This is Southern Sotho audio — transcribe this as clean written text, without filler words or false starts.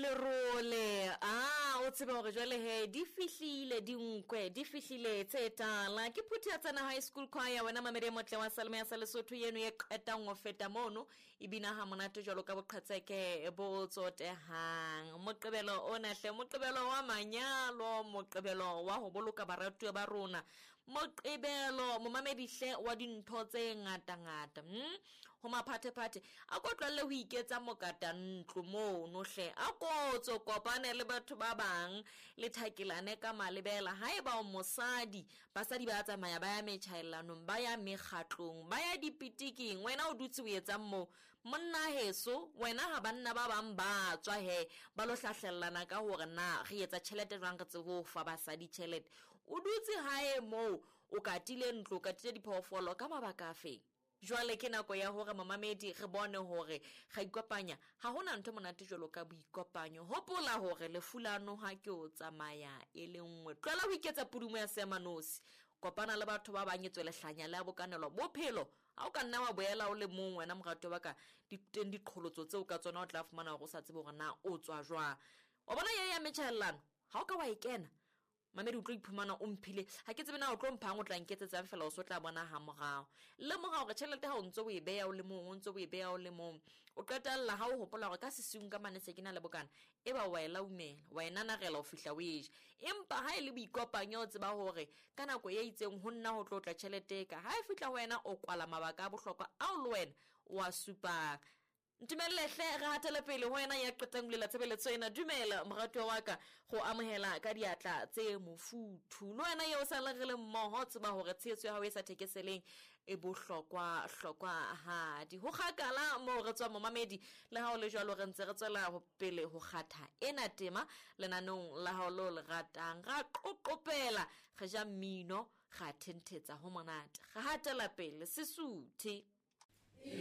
Lerole a o tsebe gore jwale he di fihlile dinkwe di fihlile tse tala. Ke phuthi ya tsena high school choir, wena mamedi e motle wa Salome ya sa Lesotho yeno ye qetang ho feta mono e bina ha monate jwalo ka boqhetseke bo tsotehang. Moqebelo ona hle, moqebelo wa manyalo, moqebelo wa ho boloka baratuwa ba rona, moqebelo momamedi hle wa dintho tse ngata-ngata. Ho maphathephathe a ko tlohelle ho iketsa mokata ntlo mono hle, a ko tso kopane le batho ba bang le thakelane ka malebela. Haeba o mosadi, basadi ba tsamaya ba ya metjhaellanong, ba ya mekgatlong, ba ya dipitiking, wena o dutse o etsang moo? Monna heso wena, ha banna ba bang ba tswa he ba lo hlahlellana ka hore na re etsa tjhelete jwang, re tsebe ho fa basadi tjhelete, o dutse hae moo o katile ntlo, o katile diphoofolo ka mabaka a feng? Jwale ke nako ya hore momamedi re bone hore ga ikopanya. Ga hona ntho monate jwalo ka boikopanyo. Hopola hore lefu la noha ke o tsamaya e le nngwe. Tlohela ho iketsa pudumo ya seemanosi, kopana le batho ba bang, e tswe lehlanya le a bokanelwa bophelo. Ha o ka nna wa boela o le mong, wena morato wa ka, di teng diqholotso tseo ka tsona o tla fumana hore o sa tsebe hore na o tswa jwang. Wa bona ye ya metjhaellano, ha o ka wa e kena mamedi, o tlo iphumana o mphile, ha ke tsebe na o tlo mphang, o tla nketsetsang fela, o so tla bona ha morao. Lemoga hore tjhelete ha o ntse o e beha o le mong, o ntse o e beha o le mong, o qetella ha o hopola hore ka sesiung ka mane se ke na le bokana, e ba wa e laumela, wa e nanarela ho fihla o e ja. Empa ha e le boikopanyo, o tseba hore ka nako e itseng ho nna ho tlo tla tjhelete e ka ha e fihla ho wena, o kwala mabaka a bohlokwa ao le wena o a supang. Ntumelle hle re hatele pele ho wena ya qetang ho lela tshebeletso ena. Dumela moratuwa wa ka, go amohela ka diatla tse mofuthu. Le wena eo sa re le mmoho, tseba hore tshehetso ya hao e sa thekeseleng e bohlokwa hlokwa hadi. Ho kgakala moo re tswa momamedi, le ha o le jwalo re ntse re tswela pele ho kgatha ena tema lenaneong la hao leo le ratang. Ra qoqopela, re ja mmino, ra thenthetsa ho monate, re hatela pele, se suthe.